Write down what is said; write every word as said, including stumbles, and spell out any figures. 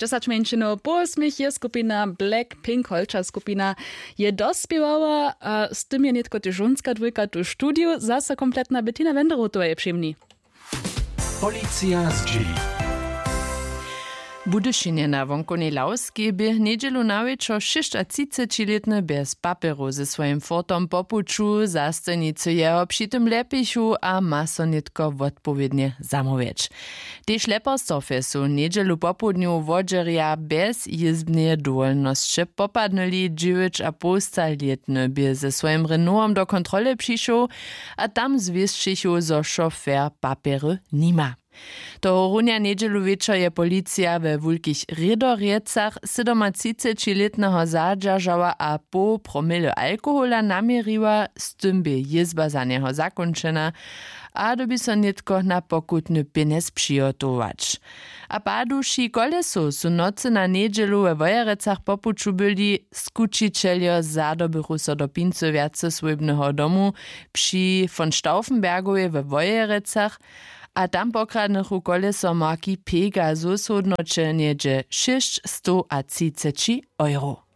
Dźesać mjeńšinow po wosmich je skupina Blackpink, holča skupina, je dospěwała a z tym je nětko tež žonska dwójka tu w studiju zaso kompletna. Bettina Wenderotowa je při mni. Policija zdźěli. W Budyšinje na wonkownej Lawskej bě njedźelu na wječor šěsćatřicećilětny bjez papjerow ze swojim fortom po puću. Zastojnicy jeho při tym ljepichu a ma so nětko wotpowědnje zamołwjeć. Tež leperstworfje su njedźelu popołdnju wodźerja bjez jězbneje dowolnosće popadnyli. Dźewjećapołstalětny bě ze swojim renowom do kontrole přišoł a tam zwěsćichu, zo šofer papjery nima. Tohorunja njedźelu wječor je policija we wulkich rědorjecach sydomatřicećilětneho zadźeržała a poł promily alkohola naměriła. Z tym bě jězba za njeho zakónčena a dyrbi so nětko na pokutny pjenjez přihotować. A paduši kolesow su nocy na njedźelu we wojerecach po puću byli. Skućićeljo zadobychu so do pincy wjaceswójbneho domu při von stauffenbergowej we wojerecach a tam pokradnychu koleso marki pegasus w hódnoće něhdźe šěsćstowatřiceći euro.